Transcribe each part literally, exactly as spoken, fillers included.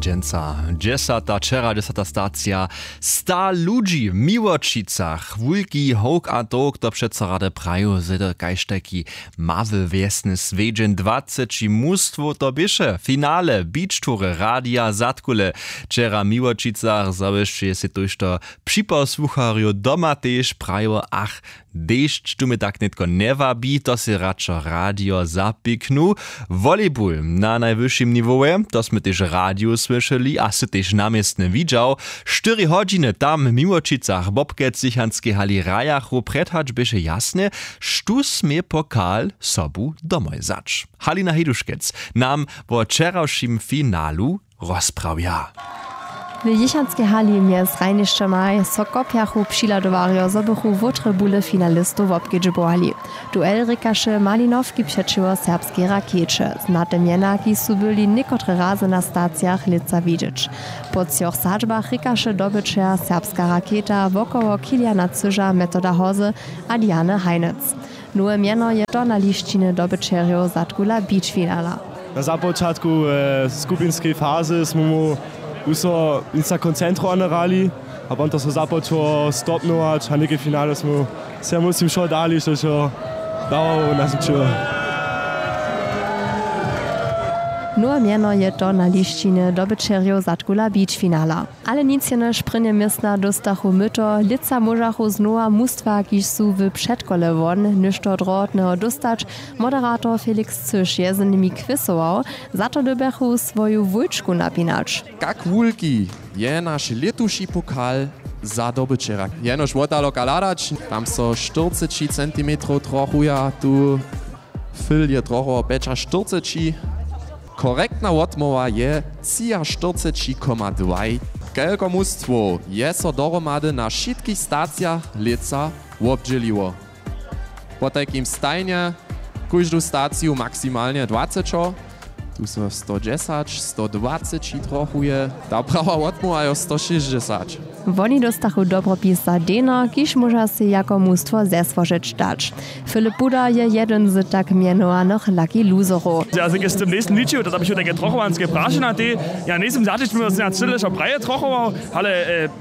Dźensa dźesata wčera dźesata stacija, sta ludźi w Miłočicach, wulki howk a towk, to přeco rady praju zedy kaž tajki mały wjesny swjedźeń. Dwaceći mustwow to běše finale beach toury Radia Zadkule. Wčera w Miłočicach zawěsće je sej tójšto připosłucharjow doma tež prajiło: ach, dešć tu mje tak nětko njewabi, to sej radšo radio zapiknu. Volleyball na najwyšim niwowje, to smy tež w radiju słyšeli a sy tež na městnje widźał. Štyri hodźiny tam w Miłočicach w Bobkec w Zichanskej hali hrajachu, prjedhać běše jasne, štó smě pokal sobu domoj wzać. Halina Hiduškec nam wo wčerawšim finalu rozprawja. W jěchanskej hali mjez hrajnišćomaj so kopjachu přihladowarjo, zo bychu wótre bule finalistow wobkedźbowali. Duel rěkaše Malinowki přećiwo serbskej Rakjeće. Znate mjena, kiž su byli někotre razy na stacijach lětsa widźeć. Po třoch sadźbach rěkaše dobyćer Serbska Rakjeta wokoło Kiliana Cyža, Metoda Hozy a Diany Hajnec. Nowe mjeno je to na lisćinje dobyćerjow zadkula beach finala. Na započatku skupinskej fazy smy mu wuso nic na koncentrowane hrali, a potom to so započało stopnować a něke finale smy se muslim wšo dali, što so dawało, naznačilo. Nowe mjeno je to na lisćinje dobyćerjow zadkula beach finala. Ale nic jenož prěnje městna dóstachu myto. Lětsa móžachu znowa mustwa, kiž su w předkole won, něšto drohotneho dóstać. Moderator Felix Cyš je z nimi kwěsował. Za to dyrbjachu swoju wójčku napinać. Kak wulki je naš lětuši pokal za dobyćera? Jenož wotaloka hladać, tam so štyrceći centimetrow trochuja tu. Fyl je trochu pjećaštyrceći. Korektna wotmołwa je třiaštyrceći koma dwaj. Kelko mustwow je so dohromady na wšitkich stacijach lětsa wobdźěliło? Potajkim stajnje kóždu staciju maksimalnje dwacećo. Tu so sto dźesać, sto dwaceći trochuje. Ta prawa wotmołwa jo sto šěsćdźesać. Woni dóstachu dobropis za deno, kiž móža sej jako mustwo zesłožeć dać. Filip Buda je jedyn z tak mjenowanych lucky loserow. Ja se z tym njejsym ličił, to běchu tajke trochowanske prašenja tej. Ja njejsym zaćić mimo sena cyle wšo praje trochował, ale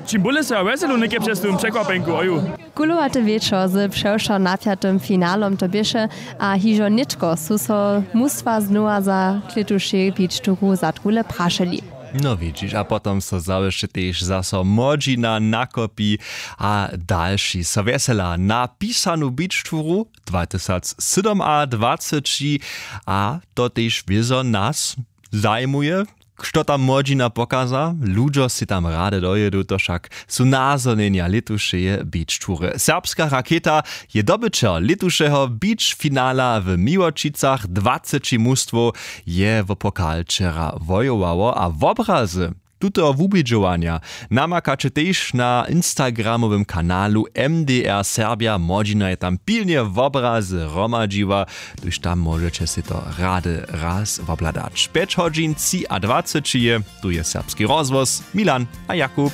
čim bóle so ja wjeselu něke přez tym překwapjenku oju. Kulowate wječor z přewšo napjatym finalom to běše. A hižo nětko su so mustwa znowa za klětušej beach touru zadkule prašeli. No widźiš, a potom so zawěsće tež zaso młodźina nakopi. A dalši so wjesela na pisanu beach touru dwatysac sydomadwaceći. A to tež wězo nas zajimuje, što tam młodźina pokaza. Ludźo sej tam rady dojědu, to wšak su nazhonjenja lětušeje beach toury. Serbska Rakjeta je dobyćer lětušeho beach finala w Miłočicach. Dwaceći mustwow je wo pokal wčera wojowało a wobrazy tuteho wubědźowanja namakaće tež na instagramowym kanalu. M D R Serbja młodźina je tam pilnje wobrazy hromadźiła, tuž tam móžeće sej to rady raz wobhladać. Pjeć hodźin třiadwaceći je. Tu je Serbski rozhłos, Milan a Jakub.